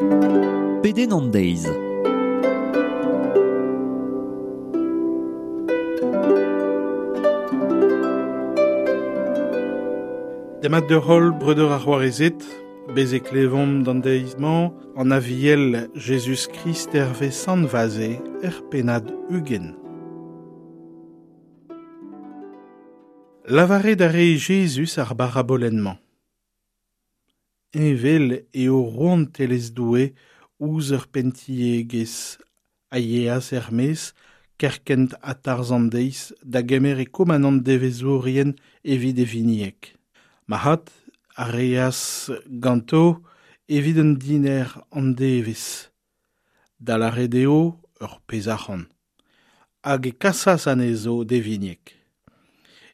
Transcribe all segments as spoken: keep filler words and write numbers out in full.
Pedenn an deiz. Demat deoc'h breudeur ar c'hoarezed, bez e klevomp d'an deiz-mañ an aviel Jezuz-Krist hervez Sant Vaze er pennad ugent. Lavaret a rae Jezuz ar barabolenn-mañ. Evel eo rouantelezh Doue ouzh ur penntiegezh a yeas er-maez kerkent ha tarzh an deiz da gemer e komanant devezhourien evit e vinieg. Marc'had a reas ganto evit un diner an devezh. Da lâret eo ur pezh arc'hant. Hag e kasas anezho d'e vinieg.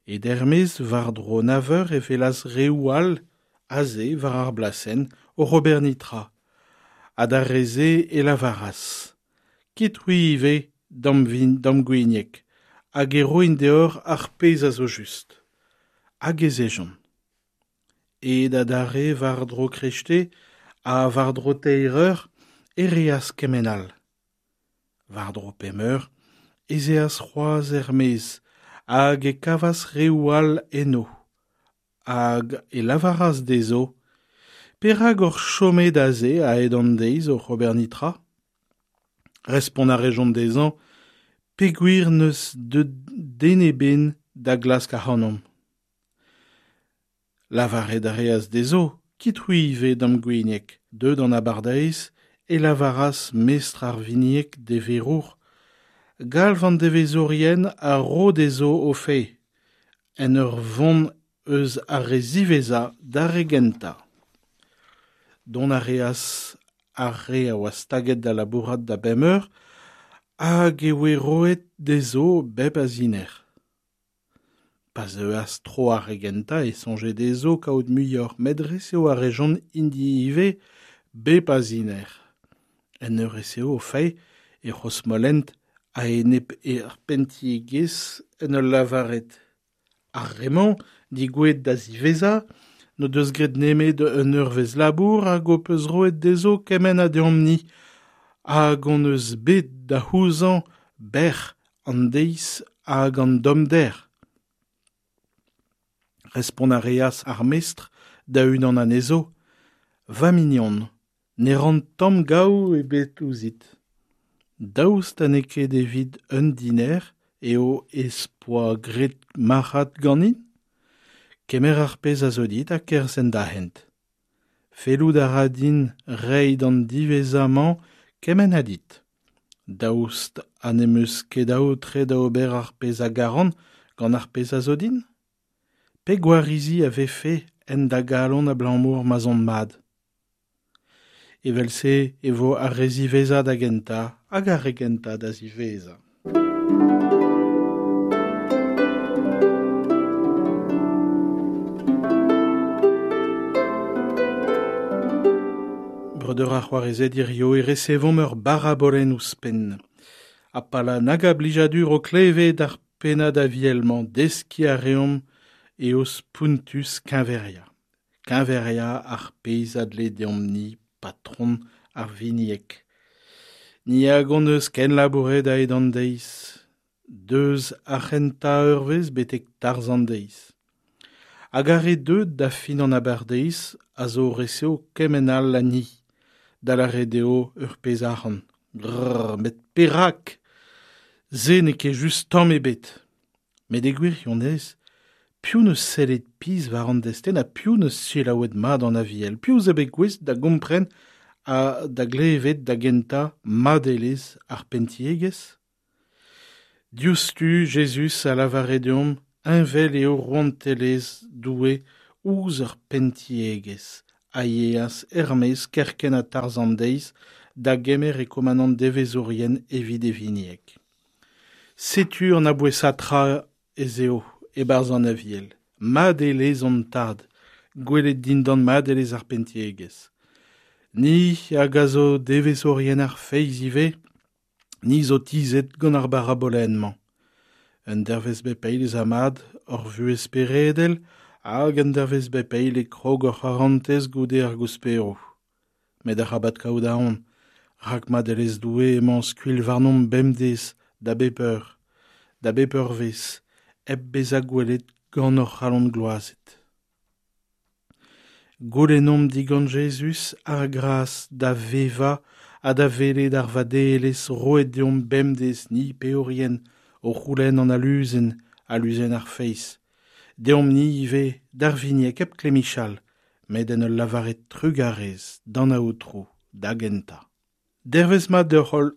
E dermez war-dro nav eur e welas reoù all aze war ar blasenn o ober netra. Ha d'ar re-se e lavaras. Kit c'hwi ivez d'am vin d'am gwinieg, hag e roin deoc'h ar pezh a zo just. Hag ez ejont. Aet adarre war-dro kreisteiz ha war-dro teir eur e reas kement all. War-dro pemp eur ez eas c'hoazh er-maez hag e kavas reoù all eno. Hag e lavaras dezho, perak oc'h chomet aze a-hed an deiz oc'h ober netra? Respont a rejont dezhañ, peogwir n'eus deuet den ebet da glask ac'hanomp. Lavaret a reas dezho, kit c'hwi ivez d'am gwinieg. Deuet an abardaez, e lavaras mestr ar vinieg d'e verour, galv an devezhourien a ro dezho o fae, en ur vont eus ar re ziwezhañ d'ar re gentañ. Dont a reas ar re a oa staget da labourat da bemp eur, hag e oe roet dezho bep a ziner. Pa zeuas tro ar re gentañ e soñje dezho kaout muioc'h, met resev a rejont int-i ivez bep a ziner. En ur resev o fae e c'hrozmolent a-enep er penntiegezh en ul lavaret. Ar re-mañ digouezhet da ziwezhañ n'o deus graet nemet un eurvezh labour hag ho peus roet dezho kement ha deomp-ni, hag hon eus bet da c'houzañv bec'h an deiz hag an tommder. Respont a reas ar mestr da unan anezho, va mignon, ne ran tamm gaou ebet ouzhit. Daoust ha n'eo ket evit un diner eo ez poa graet marc'had ganin? Kemer ar pezh a zo dit ha kerzh en da hent. Fellout a ra din reiñ d'an diwezhañ-mañ kement ha dit. Daoust ha n'em eus ket aotre da ober ar pezh a garan gant ar pezh a zo din? Pe gwarizi a vefe en da galon abalamour ma'z on mat? Evel-se e vo ar re ziwezhañ da gentañ hag ar re gentañ da ziwezhañ. Breudeur ar c'hoarezed hirio e resevomp ur barabolenn ouzhpenn. Ha pa la nag a blijadur o klevet ar pennad aviel-mañ deskiñ a reomp eo spontus keñveria. Keñveria ar pezh a dle deomp-ni patron ar vinieg. Ni hag hon eus kenlabouret a-hed an deiz, deus ar c'hentañ eurvezh betek tarzh an deiz. Hag ar re deuet da fin an abardaez a zo resev kement all ha ni, da lâret eo ur pezh arc'hant. Grrr, met perak? Se n'eo ket just tamm ebet. Met e gwirionez, piv n'eus sellet pizh war an destenn ha piv n'eus selaouet mat an aviel? Piv zo bet gouest da gompren ha da glevet da gentañ madelezh ar penntiegezh? Diouzhtu Jezuz a lavare deomp heñvel eo rouantelezh Doue ouzh ur penntiegezh a yeas er-maez kerkent ha tarzh an deiz da gemer e komanant devezhourien evit e vinieg. Setu an abouesañ tra ez eo e-barzh an aviel. Madelezh hon tad, gwelet dindan madelezh ar penntiegezh. Ni hag a zo devezhourien ar feiz ivez, ni zo tizhet gant ar barabolenn-mañ. Un dervezh bep eil ez a mat hor vuhez speredel hag un dervezh bep eil e krog hor c'harantez goude ar gousperoù. Met arabat kaout aon, rak madelezh Doue emañ skuilh warnomp bemdez da bep eur, da bep eurvezh, hep bezañ gwelet gant hor c'halon gloazet. Goulennomp digant Jezuz ar gras da vevañ ha da welet ar vadelezh roet deomp bemdez ni peorien o c'houlenn an aluzen, aluzen ar feiz. Deomp-ni ivez d'ar Vigneg hep klemmichal, met en ul lavaret trugarez d'an Aotrou da gentañ. Dervezh mat deoc'h holl.